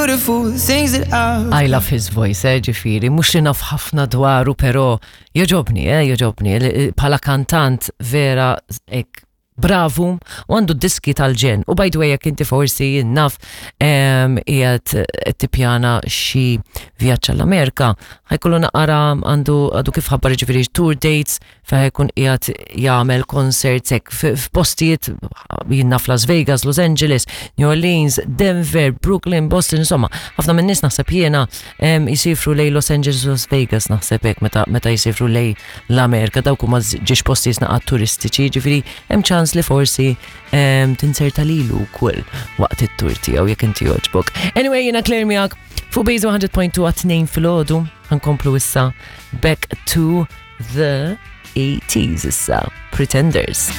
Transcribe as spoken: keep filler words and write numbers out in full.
beautiful things that I've I love his voice, eh, ġifieri, mhux li naf ħafna dwaru, pero jogħġobni, eh, jogħġobni, li- bħala kantant vera ek, bravu, u għandu diski tal-ġenn. U by the way, jekk inti forsi naf qiegħed tippjana xi vjaġġ għall-Amerika, ħa jkollu naqra għandu għadu kif ħabbar ġifieri tour dates fejn ħa jkun qiegħed jagħmel concerts hekk f'postijiet jien naf Las Vegas, Los Angeles, New Orleans, Denver, Brooklyn, Boston, insomma, ħafna minn nies naħseb jiena jisifru lejn Los Angeles, Las Vegas naħseb hekk meta meta jisifru lejn l-Amerika, dawk huma żewġ postijiet naqra turistiċi, ġifieri hemm ċans li forsi tinserta lilu wkoll waqt it-tour tiegħu jekk inti jogħġbok. Anyway, jiena Claire miegħek fuq Base one hundred point two għat-tnejn filgħodu, ħa nkomplu issa back to the eighties issa, Pretenders.